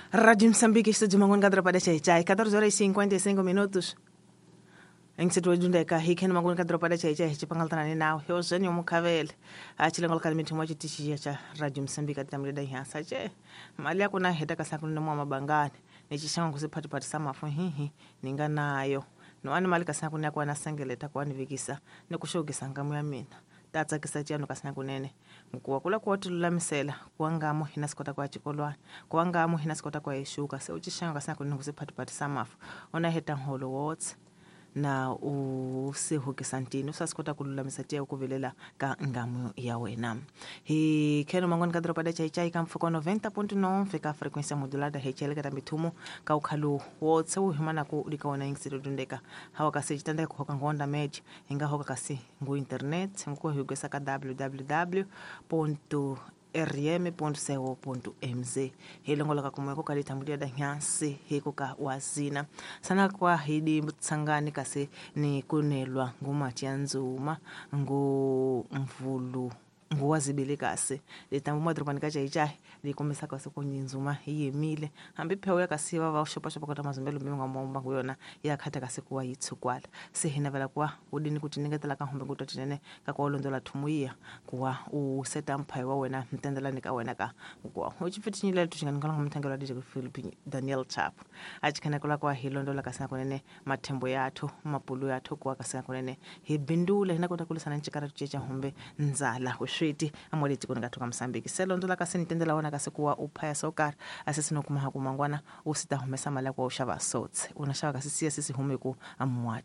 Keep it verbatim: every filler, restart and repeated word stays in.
Rádio Moçambique, estúdio Manguan Kadropa Chai, catorze horas e cinquenta e cinco minutos. Em situadundeka hikhen mangun kadropa chai chai chipangaltana naw hyozeni mukhavele a chilengol kalmi thumwa chitichi cha Radio Moçambique tamle da hyansa che mali ya kuna heta kasakunu mwa mabangani ni chishanga kusiphatiphathi samafu hihi ninga nayo no ani mali kasakunu yakwa na sengeleta kwa nivikisa ni kushokisa ngamu ya mina tatsakisa chiyano kasina kunene nkuwa kula kuotilulamisela kuwangamo hina sikota kwa chikolwana kuwangamo hina sikota kwa exuka se uchixanga kasina kunene kusiphatiphathi samafu ona heta nholo wotse na u sihukisa ntini usasikota ku lulamisa tiya ku vilela ka ngamu ya wena hi kheno mangoni ka doroba da chaichai ka mfuko noventa ponto nove ka frequência modulada H L ka mithumo ka ukhalu wotse u himana ku lika wona ingisiro dundeka hawa ka sejitanda ku hoka ngonda meji hinga hoka kasi ngu internet ngu hugesa ka w w w ponto r m ponto co ponto m z hilongoloka kumwe ko kalitambulia da nyansi hiko ka wazina sana kwa hidi tsangani kasi ni kunelwa ngumatianzuma ngu mvulu nguwazibili kasi litambu madrobani ka chaichai likomesa kasi kunyinzuma yimile hambi phewu ya kasi va va xopaxopa kota mazumbelo mi nga momba kuyona ya khata kasi kuwa yitsukwala se hina vela kuwa udini kuti ningetela ka humbe kutwa tinene ka kwa londola thumuya kuwa u seta mphayi wa wena mtendelani ka wena ka kuwa u chipfitinyile tuchingani ngala mthangelo wa D J Philip Daniel Chapo achikhana kula kwa hilondola kasi kunene mathembo yathu mapulu yathu kuwa kasi kunene hi bindule hina kota kulisana nchikara tuchecha humbe nzala switi amole tikoni ka thoka Mozambique selondola kasi nitendela wona kasi kuwa uphaya sokar asesino kuma ha kumangwana usita humesa mali kwa ushava sotse una shava kasi siya sisi hume ku amwa